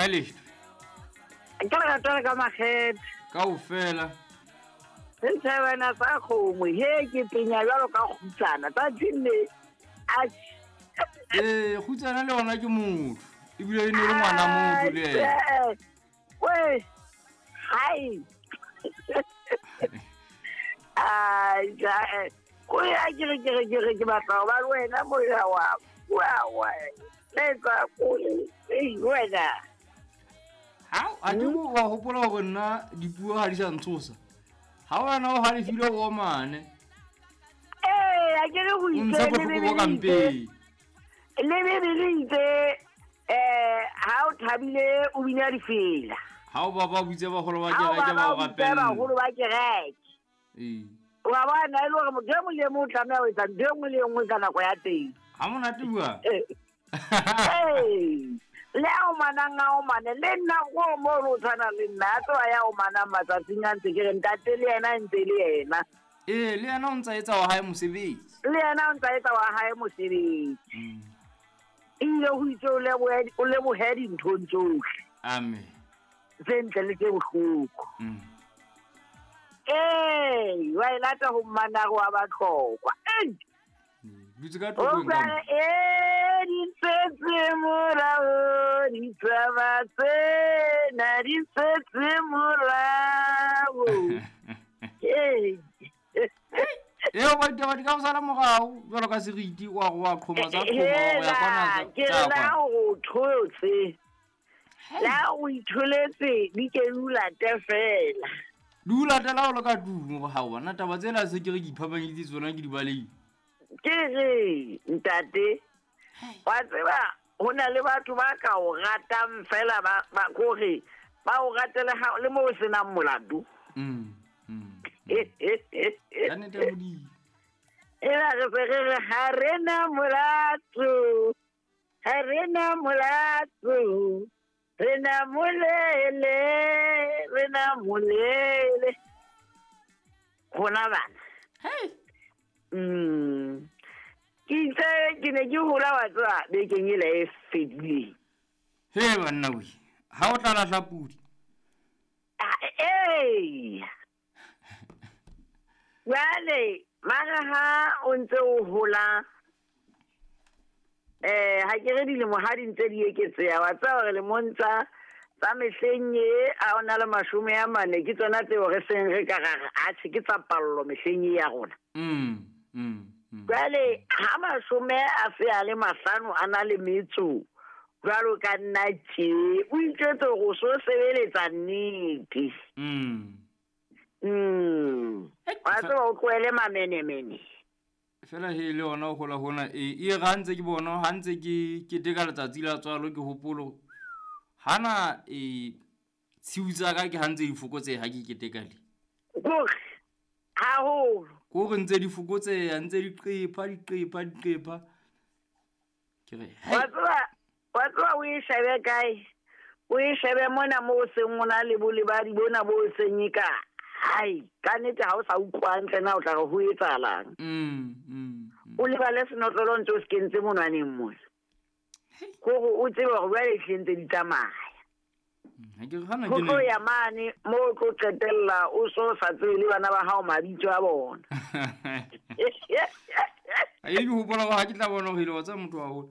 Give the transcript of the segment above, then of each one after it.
Ae Ke lerato le ka makgethe. Kaofela. Setjhabana sa kgomo, he ke penya jwalo ka kgutsana. Tsatsing le atjhe. Ee, kgutsana le yona ke motho. Ebile e ne le ngwana motho le yena. We, hai. Ai, ja, ko ya ke re ke re ke re ke batla ho ba le wena moya wa wa letsa kole ei wena. Ha a ke go wa hopola hore nna dipuo ha di sa ntshosa. Ha wena o halefile o omane. Ee, a ke re go O ntsha itse le bohloko bo ka Bibele mpeng. le Bibele itse ha o thabile o bina difela. Ha o baba butse baholo ba Ha o kereke ba baba o o bitse rapella. baholo ba kereke. Ee. Wa bona e le hore motho e mong le e mong o tlameha ho etsa ntho e nngwe le e nngwe ka nako ya teng. Ha monate bua. Ee. Le a omanang a omane le nna ko mo o tshwana le nna a tloha ya omanang matsatsing a ntse ke re ntate le yena ntse le yena. Ee, le yena o ntsa etsa wa hae mosebetsi. Le yena o ntsa etsa wa hae mosebetsi. Ebile ho itse o lebohe dinthong tsohle. Amen. Tse ntle le tse bohloko. Ee, wa e lata ho mmanare wa Batlokwa. Ei! Dutse ka O tlokong ka ka mo. re, di setse morao, ditaba tsena di setse morao. Ee. Eo ba ditaba di ka o sala morao jwalo ka seriti wa go wa qhoma tsa qhoma wa ya kwana Hela, ke tsa re la kwana. o thotse. La o itholetse di ke di o late fela. Di o latela o le ka tlung hore ha bona taba tsena se ke re ke iphapanyeditse tsona ke di balehile. Ke re ntate, wa tseba ho na le batho ba ka o ratang fela ba kore ba o ratele ha le mo o senang molato. Ka nnete ya Modimo. Ela re se re re ha re na molato, ha re na molato, re na molele, re na molele. Rona bana. Hey. Ke itse ke ne ke hola wa tseba bekeng ela e fedileng. He banna we, ha o tla lahla pudi. Ee. Jwale mara ha o ntse o hola, ha ke re dilemo ha di ntse di eketseha, wa tseba hore lemong tsa mehleng e a o na le 40 ke tsona tseo re seng re ka ra re atjhe ke tsa pallo mehleng e ya rona. Jwale ha 55 a se a le a na le metso jwalo ka nna tje, o itjwetse hore o so sebeletsa nnete. Wa tseba o tlohele mamenemene. Fela he le yona ho hola hona e re ha ntse ke bona, ha ntse ke keteka letsatsi la tswalo ke hopolo hana tshiu tsa ka ke ha ntse di fokotseha ha ke keteka le. Kore haholo. Kore ntse di fokotseha, ntse di qepha, di qepha, di qepha. Ke re, hei. Wa tseba o e shebe kae? O e shebe mona moo o seng o na le bolebadi bona bo seng e ka. Hai, ka nnete ha o sa utlwa hantle na o tla re ho etsahalang. O lebale senotlolo ntse o se kentse monwaneng mona. Kore o tsebe hore jwale ehlile ntse di tsamaya. Ha ke re hana Ho ke tlo ne- ya mane moo o tlo qetella o so sa tsebe le bana ba hao mabitso a bona. A e ke hopola hore ha ke tla bona hore ile wa tseba motho wa haholo.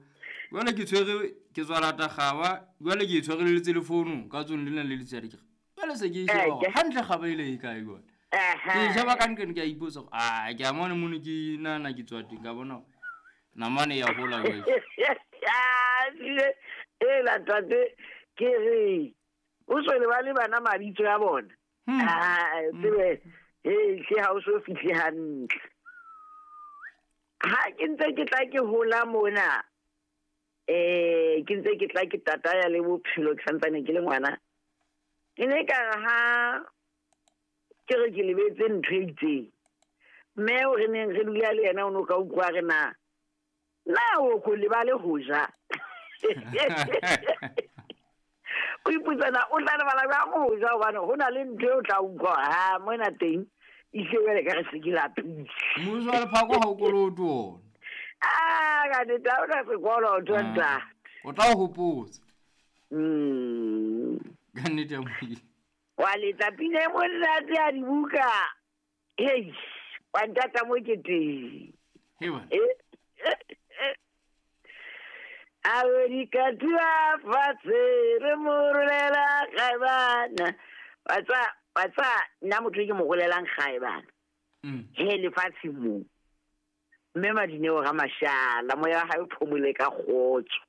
Jwale ke tshwere, ke tswa lata kgaba, jwale ke e tshwareletse le founu ka tsong lena le letsatsi ke re. Jwale se ke e sheba hore hantle kgaba ile e kae jwale. Ke e sheba ka nqeng ke a ipotsa hore, ah, ke a mona mono ke nahana ke tswa teng, ka bona hore namane ya hola jwale. Ela ntate, ke re o so lebale bana mabitso a bona. Ah, tsebe, hle ha o so fihle hantle. Ha ke ntse ke tla ke hola mona, ke ntse ke tla ke tataya le bophelo ke santsane ke le ngwana. Ke ne ka re ha ke re ke lebetse ntho e itseng, mme o re neng re dula le yena o no ka utlwa re na, na o ko lebale ho ja. O ipotsa na o tla lebala jwang ho ja, hobane ho na le ntho e o tla utlwa ha mona teng e hle jwale ka re se ke lapile. Mmuso wa lephako ha o kolote ona. Ah, ka nnete ha o na sekoloto, ntate. O tla o hopotsa. Ka nnete ya Modimo. Wa letsa pina e monate ya dibuka. Hei, wa ntata mo ke teng. He bana. A re di ka tua fatshe re mo rolela gae bana. Wa tseba nna motho e ke mo rolelang gae bana. He lefatshe mo. Mme Madineo ga Mashala, moya wa hae o phomole ka kgotso.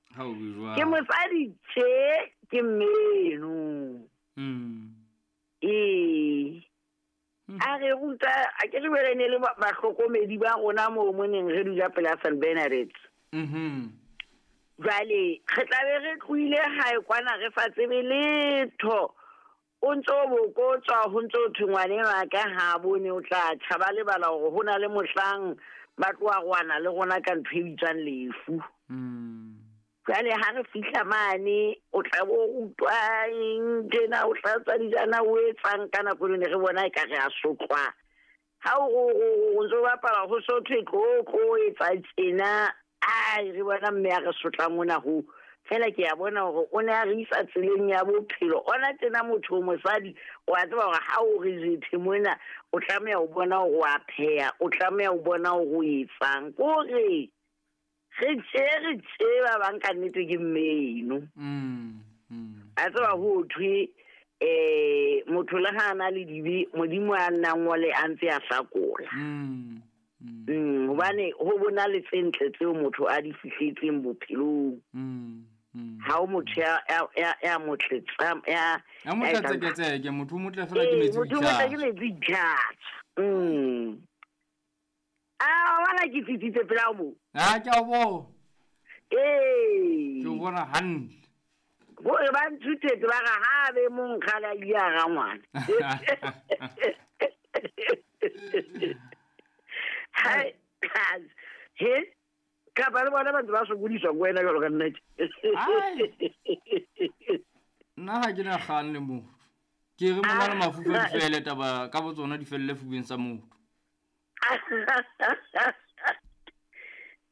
Ke mosadi tje ke mmeno. Ee. A re ruta, a ke re bele ne le bahlokomedi ba rona moo mo neng re dula pela St. Bernadette. Jwale re tla be re tlohile hae kwana re sa tsebe letho. O ntso bokotswa ho ntso thwe ngwaneno a ka ha bone o tla tjha, ba lebala hore ho na le mohlang ba tlo arohana le rona ka ntho e bitswang lefu. Jwale ha re fihla mane o tla bo rutwa eng tjena, o tlatswa dijana, o etsang ka nako eno ne re bona e ka re a sotlwa. Ha o ntso bapala ho so thwe tlo tlo etsa tjena, ai re bona mme a re sotla mona ho. Fela ke a bona hore o ne a re isa tseleng ya bophelo. Ona tjena motho o mosadi, o a tseba hore ha o re jethe mona, o tlameha ho bona hore o a pheha, o tlameha ho bona hore o etsang. Ke hore re tje re tje ba bang ka nnete ke mmeno. A tseba ho thwe motho le ha a na le dibe, Modimo a nna ngole a ntse a hlakola. Hobane ho bona le tse ntle tseo motho a di fihletseng bophelong. Ha o motho ya motle ya motle tseketseke, motho o motle fela ke metsi. Motho o motle ke metsi tjhatsa. A wala ke tsitsitse pela mo. Ha ke a bona. Ee. Ke o bona hantle. Bo re ba nthutetse ba re ha be mong kgale a ile a ra ngwana. Hai, he, kapa le bona ba ntse ba sokodiswa ko wena jwalo ka nna tje. Nna ha ke na kgang le motho. Ke re mona le mafufa di fele taba ka bo tsona di felle fubeng sa motho.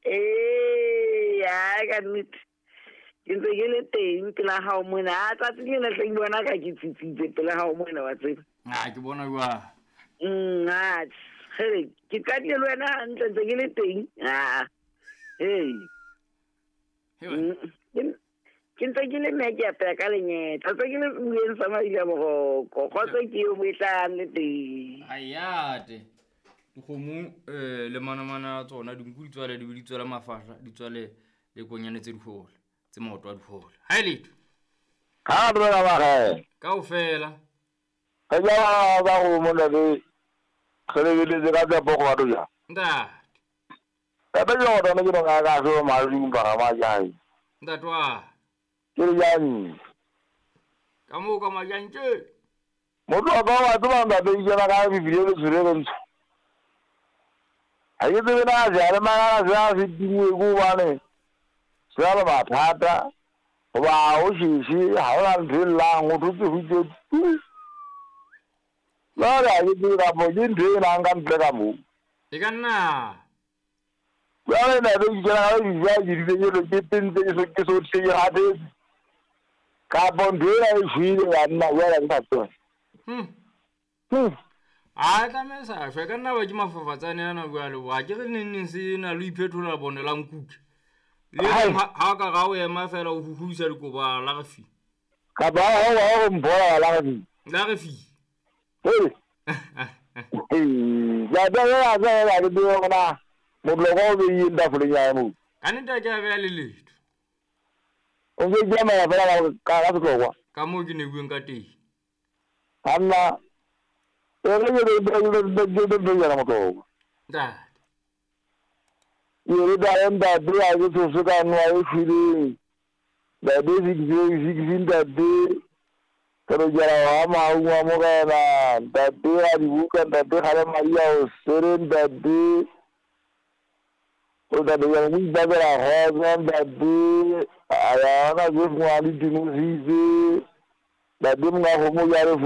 Ee, ya ka nnete. Ke ntse ke le teng pela hao mona. A tsatsi lena hle ke bona ka ke tsitsitse pela hao mona wa tseba. Ah, ke bona jwang. Ah, hey, ke qadile le wena hantle ntse ke le teng. Ah. Hey. Ke ntse ke le mme ke apeya ka lenyetla. Ntse ke le bueng sa Maila Boroko. Kgotso ke eo mo e tlang le teng. Ayate. Dikgomo le manamana a tsona dinku di tswale di be di tswale mafahla, di tswale le konyane tse dihole, tse maoto a dihole. Ha e letho. Ha re ba re. Kaofela. Ka ja ba go mona le re lebeletse ka tsa boko batho ja. Ntate. Ka ba jwa bona ke nga ka so malung ba ma jai. Ntate wa. Ke re jang. Ka mo ka majang tje. Motho wa ba wa tseba ntate ke na ka bibile le tshwere le ntho. Ha ke tsebe na ja le mara ja se dingwe go bane. Se ba mathata. Ba o shishi ha o la ntho lang o thutse hutse. La ra ke dira mo ke ntho e nang ka ntle ka mo. E ka nna. Jwale nna be ke kena ka di ja ke di ke ke tentse ke so ke so tse ke hatetse. Ka bo ntho ena e shwele ya nna jwale ke sa tsebe. A tlameha sa shwe ka nna ba ke mafafatsane ana jwale wa ke re neng neng se na le iphethola bone la nkuke. Le ha ka ga o ema fela o huhuisa dikobo la re fi. Ka ba ha o mpola la re fi. La re fi. Hey. Ya ya ya ya ke bona motloko o be yeng tafoleng ya mo. Ka nnete ke a beha le letho. O ke jama ya fela ka ka setlokwa. Ka moo ke ne bueng ka teng. Anna e re ke be ya motloko. Ntate. Ke re da ntate a ke tsose ka nwa e shweleng. Ntate six ntate. Ke re jara wa maung wa morena ntate a dibuka ntate ga le madi a o sere ntate. O ntate ya mo ipakela kgotso ntate. A ya na ke ngwa le dinositse. Ntate monga kgomo ya re